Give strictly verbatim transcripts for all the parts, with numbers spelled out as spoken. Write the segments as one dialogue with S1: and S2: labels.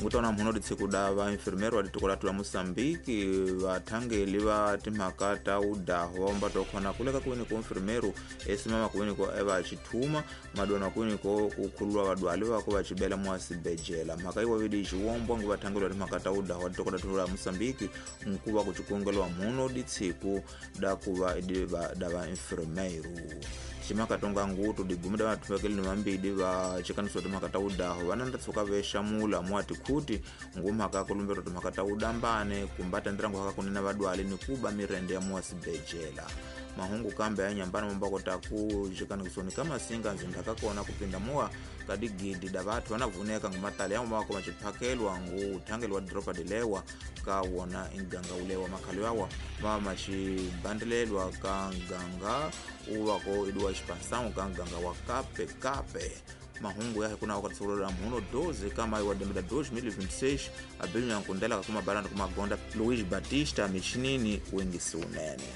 S1: Ngutona mhuno ditsikuda va enfermeiro wa ditiko la Moçambique vathangeli va timhaka ta udaho va omba khona kuleka kwini ko enfermeiro esimama kwini ko eva chithuma madona kwini ko kukhululwa vadwali vako vachibela mwasibejela mhaka iwa vidi xiwombwa ngu vathangeli wa timhaka ta udaho wa ditiko la Moçambique nkuva kuchikongelwa mhuno ditsiku da kuva da va enfermeiro ximaka tonga ngutu digumida vathuvekeli ni vambidi va chikaniso timhaka ta udaho vananda tshuka vexamula mwati khuti ngumhaka kulumbero timhaka ta udambane kumba tendrango haka kunena vadwali ni kuba mirende ya mwasibejela mahungu kambe ya nyambana mambako taku xikanikisoni ka masinga ndzindaka kona kupinda muwa ka digidi da vathu vanavuneka ngumatali ya mako vachiphakelwa ngu uthangeli wa doroba dilewa ka wona inganga ulewa makhalo yawa va maxibandelelwa ka nganga uvako idiwa expansão ka nganga wa kape kape mahungu ya kuna wakati mhuno doze kama iwa dembeda dois mil e vinte e seis abelho nyankundela kuma baranda kuma gonda Luiz Batista michinini wengisi unene.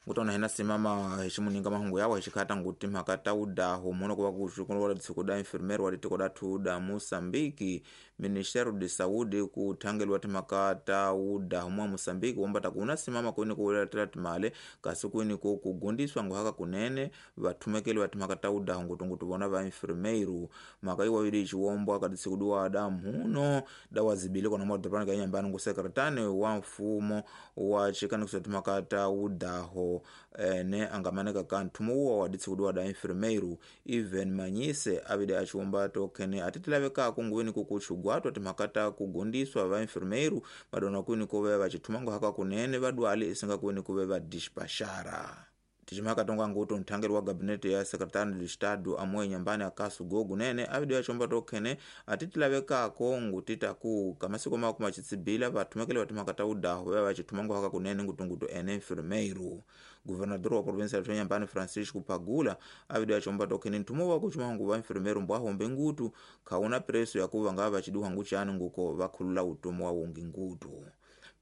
S1: Ngutona hena simama heshimuninga mahungu yawo hexikata nguti mhaka ta udaho muno kuva kuxukunwa tsiko da enfermeiro wa ditiko da thu da Moçambique Ministério de Saúde kuthangeliwa timhaka ta udaho mwa Moçambique wombata kuna simama kwini kuletela timale kasi kwini ku kugundiswa nguhaka kunene vathumekeli timhaka ta udaho ngutungutu vona va enfermeiro mhaka iwa yili xiwombwa ka tsiko diwa da mhuno da wazibili kona madorobani ka nyambani ngu sekretane wa mfumo wa xikanikiso timhaka ta udaho ene angamaneka ka nthumo wa wa ditsikudiwa da enfermeiro Even Manyise avide achiwomba tokene atitilavekako nguweni kukuchugwatwa timhaka ta kugundiswa va enfermeiro madona kwini kuve vachithumango haka kunene vadwali isinga kwini kuve va dispachara tichimhaka tonga ngutu nthangeli wa gabinete ya secretário de Estado amwe nyambani akasu gogo nene avide achomba tokhene atitilavekako ngutitaku kamasiko mako machitsibila vathumekele vatimhaka ta udaho vaya vachithumango haka kunene ngutungutu ene enfermeiro governador wa província ya nyambani Francisco Pagula avide achomba tokhene nthumo wa kuchumangu va enfermeiro mbwahombe ngutu khauna preço yakuva ngava vachiduha nguchani nguko vakhulula utomo wa wongi ngutu.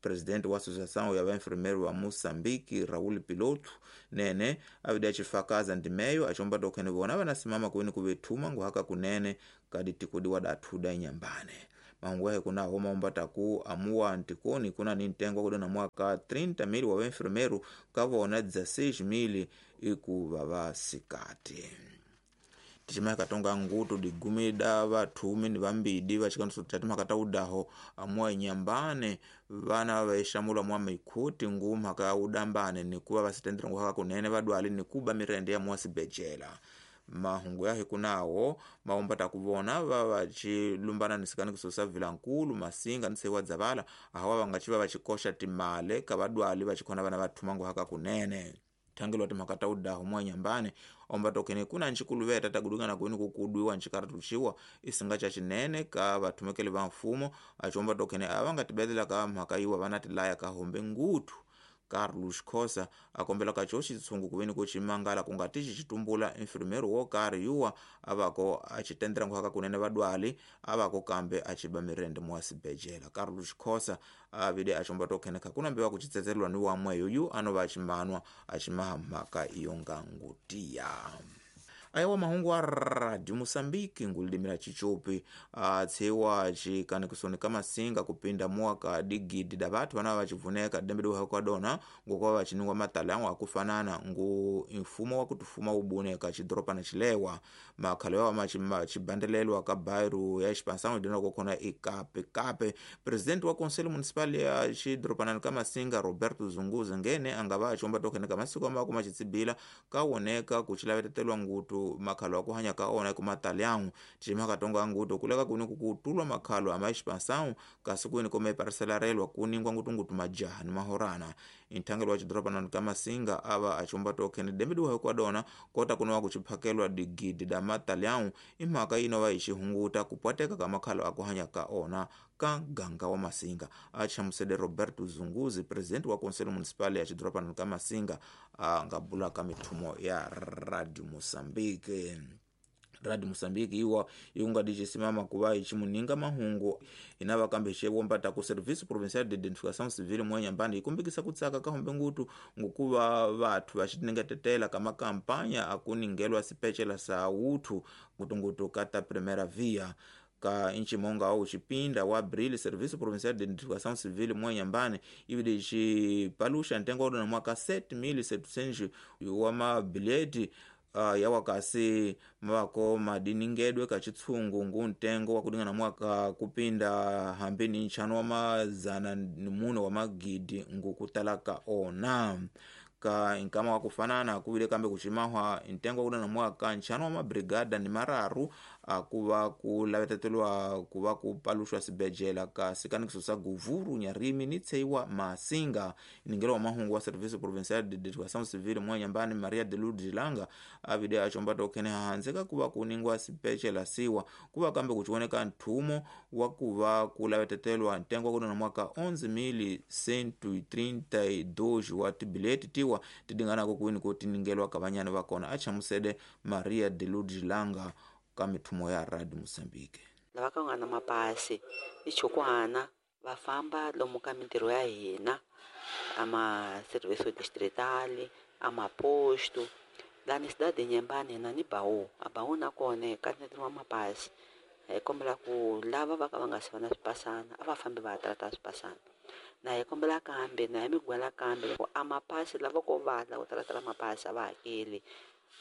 S1: Presidente wa Associação ya Enfermeiro wa Moçambique Raul Piloto nene avide achifakaza ndimeyo achomba tokhene vona vanasimama kwini kuvethuma nguhaka kunene kadi tikudiwa dathuda inyambane mahungu yahe kuna homa ombataku amuwa ntikoni kuna ni ntengo kudona mwaka trinta mil wa enfermeiro kavona dezesseis mil ikuva vasikati. Tichimaka tonga ngutu digumida vathumi ni vambidi vachikaniso timhaka ta udaho amuwa inyambane vana vaixamula mwa mikhuti ngumhaka ya udambane nikuva vasitendera nguhaka kunene vadwali nikuba mirende ya mwasibejela mahungu yahe kunawo maomba takuvona va vachilumbana nisikanikiso sa vilankulu masinga nisewa dzavala ahawa vangachiva vachikoxa timale ka vadwali vachikhona vana vathuma nguhaka kunene thangeliwa timhaka ta udaho mwa nyambane omba tokene kuna nchikuluveta tagudungana kwini kukudwiwa nchikaratuxiwa isinga cha chinene ka vathumekeli va mfumo achomba tokene ava nga tibetela ka mhaka yiwa vana tilaya ka hombe ngutu Carlos Khosa akombela ka xo xitshungu kuveni ku ximangala ku nga tixi xitumbula enfermeiro wo karhi yuwa avako a xitendera nguhaka kunene vadwali avako kambe a xiba mirende mwasibejela Carlos Khosa avide axomba tokhene kha kuna mbiwa ku xitsetselelwa ni wamweyo yu anova ximanwa a ximaha mhaka iyo nga ngutiya. Ayawa mahungu wa Radio Moçambique ngulidimira chichopi atsiwa chikanikisoni kamasinga kupinda mwaka digidi da vathu vana vachivuneka dembedu hakwadona ngokuva vachiningwa matali akufanana ngu mfumo wa kutufuma ubuneka chidoropa chilewa makhalo yawa machibandelelwa ka bairro ya expansão dina kokona ikape kape president wa conselho municipal ya chidoropanani kamasinga Roberto Zunguza ngene angava achomba tokeneka masiku amako machitsibila kawoneka kuchilavetetelwa ngutu makhalo akuhanya kaona kumatalhão chimaka tonga nguto kuleka kuni kukutulwa makhalo ama expansão kasi kuni kome parcelarelwa kuningwa ngutu ngutu majaha ni mahorana inthangelo wa chidoropanani kamasinga ava achomba tokhene dembeduwa kwadona kota kunowa kuchiphakelwa digidi da matalhão imhaka inova ixihunguta kupwateka ka makhalo akuhanya kaona ka ganga wa masinga achamusede Roberto Zunguzi president wa conselho municipal ya chidoropanani kamasinga angabula ka mithumo ya Radio Moçambique. Radio Moçambique iwa iungadichisimama kuva ichimuninga mahungu inava kambe ichiwombata ku Serviço Provincial de Identificação Civil mwenyambani ikumbikisa kutsaka kahombe ngutu ngukuva vathu vaxitingetetela ka makampanya akuningelwa sipecela sa uthu ngutungutu ka ta primeira via ka nchimonga wa ucipinda wa abril. Serviço Provincial de Identificação Civil mwenyambani ividi icipalusha ntengo wa dona mwaka sete mil setecentos wa mabilhete Uh, yawakasi mavako madiningedwe kachitsungu ngu ntengo wakudingana mwaka kupinda hambini nchano wa mazana ni muno wa magidi ngukutalaka ona ka inkama wakufanana kuvile kambe kuchimahwa ntengo wakudana mwaka nchano wa mabrigada ni mararu akuva kulavetetelwa kuva kupalushwa sibejela ka sikanikiso sa guvuru nyarimi ni tseiwa masinga. Ningelo wa mahungu wa Serviço Provincial de Identificação Civil mwenyambani Maria de Lourdes Langa avide achombata okhene hahanzeka kuva kuningwa sipechela siwa kuva kambe kuchioneka nthumo wa kuva kulavetetelwa ntengo wakudana mwaka onze mil cento e trinta e dois wa tibileti tiwa tidinganako kuwini kutiningелwa kavanyani vakona. Achamusede Maria de Lourdes Langa ka mithumo ya Radio Moçambique.
S2: Lava ka nga na mapasi i chukwana va famba lomu ka mintirho ya hina a ma serviço distrital a maposto lani cidade Inhambane hina ni Baú. A Baú na kona ka wa mapasi hi kombela ku lava va ka va nga si va na swipasana a va fambi va ya trata swipasana na hi kombela kambe na hi migwela kambe loko a mapasi lava ko vala ku talatala mapasi a va hakeli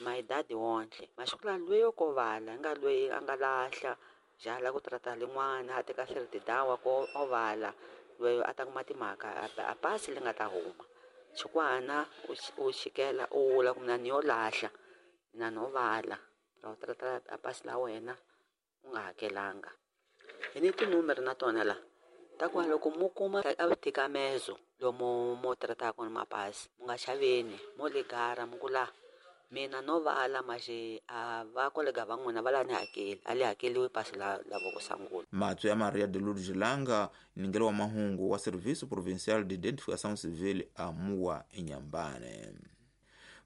S2: maidadi wontle masiku la lweyo ko vala nga lweyi a nga lahla jala ku trata lin'wana a teka siritidawa ko o vala lweyo a ta kuma timhaka a pasi li nga ta huma xikwana u xikela u vula ku mina ni yo lahla mina no vala ra u trata a pasi la wena u nga hakelanga. Hi ni tinumere na tona la ta ku loko mu kuma a vutikamezo lomu mo trataka kona mapasi mu nga xaveni mo ligara mu ku la mina no vala maxe a va kolega va n'wina va la ni hakeli a li hakeliwi pasi la la voko sangula.
S1: Matso ya Maria de Lourdes Langa ningelo wa mahungu wa Serviço Provincial de Identificação Civil a Mua Inhambane.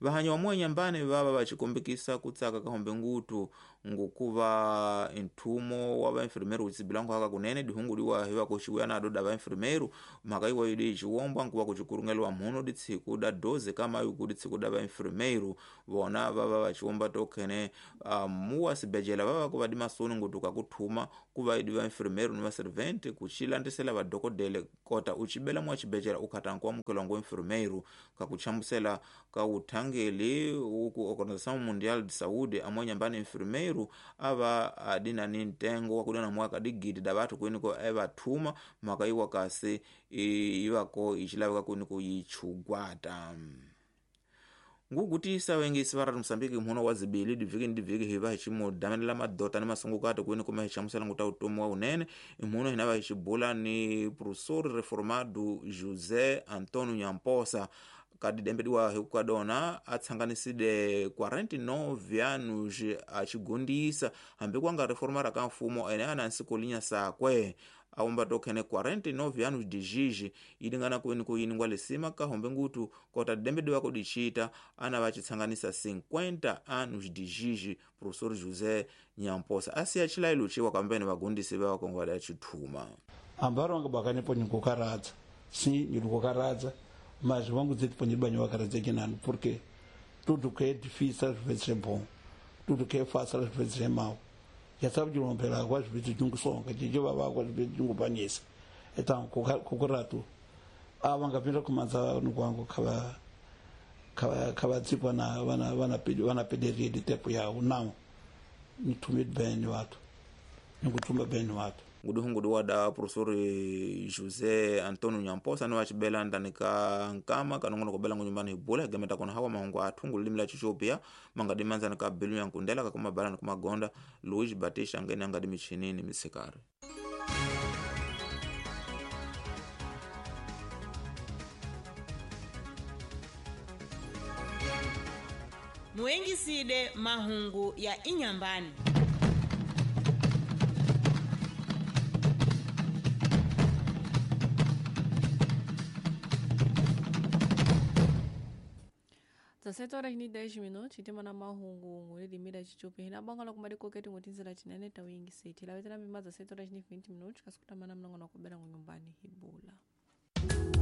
S1: Vahanyi wa Mua Inhambane vava vachikombekisa kutsaka kahombe ngutu ngukuva nthumo wa vainfirmeiro kutsibilango haka kunene dihunguliwa hiva kuxiwuya nado da vainfirmeiro mhaka iwa yidi iciwombwa nkuva kucikurungeliwa mhuno ditsiku da doze kamayu ku ditsiku da vainfirmeiro vona vava vaciwomba tokhene uh, muwa sibejela vava kuva dimasoni ngutuka kuthuma kuva idi vainfirmeiro ni vaservente kucilandisela vadokodele kota ucibela mwa cibejela ukhata nkuamukelwa ngu infirmeiro kakuchamusela ka uthangeli uku Organização Mundial de Saúde amwe nyambani infirmeiro ava adina ni ntengo wakudana mwaka digidi da vathu kuiniko evathuma mhaka iwa kasi ivako icilaveka kuiniko yichugwata. Ngugutisa wengisi va Radio Moçambique mhuno wa zibili divhiki ni divhiki hiva hi ximudamenela madota ni masungukati kuini kuma hi xamusela nguta utomi wa unene imhuno hina va hi xibula ni professor reformado José Antonio Nyamposa kadidembediwa hi kukadona a tsanganiside quarenta e nove anos a xigundisa hambi ku nga reformara ka mfumo ene a na nsikolinya sakwe aumba tokhene quarenta e nove anos de jiji ilingana kuini kuyiningwa lisima kahombe ngutu kota didembediwa kudicita ana vacitsanganisa cinquenta anos de jiji professor José Nyamposa asiya cilayilu ciwa kambene vagundisi va vakongola ya cithuma
S3: ambaro vanga bakanipo nyikukaradza si nyikukaradza mas vamos dizer que banho a kinano porque tudo que é difícil às vezes é bom, tudo que é fácil às vezes é mau. Já sabe de romper água às vezes de um songa, de llevar água às vezes de um banhesa. Então, com o rato, a vanga pira começa no quango kava kava kava tipo na wana wana wana pederia de tempo ya não. Ni tumid bem wato. Ni kutumba bem wato.
S1: Nguduhungudu wa da professor José Antonio Nyamposa ni wacibela ndani ka nkama kanongono kubela ngunyumbani hibula higemeta kona hawa mahungu athungu lilimi la Chichopia mangadi manzani ka bilu ya nkundela kakuma bala nikumagonda Luiz Batista ngene angadi michinini misikari.
S4: Muengiside mahungu ya Inhambane.
S5: dezessete horas ni dez minutos hitima na mahungu ngulidimira chichupi hina bonga lokumadi koketi ngutinzela chinene tawingiseti lavetela mima dezessete horas ni vinte minutos kasikutamana mnongono kubela ngunyumbani hibula.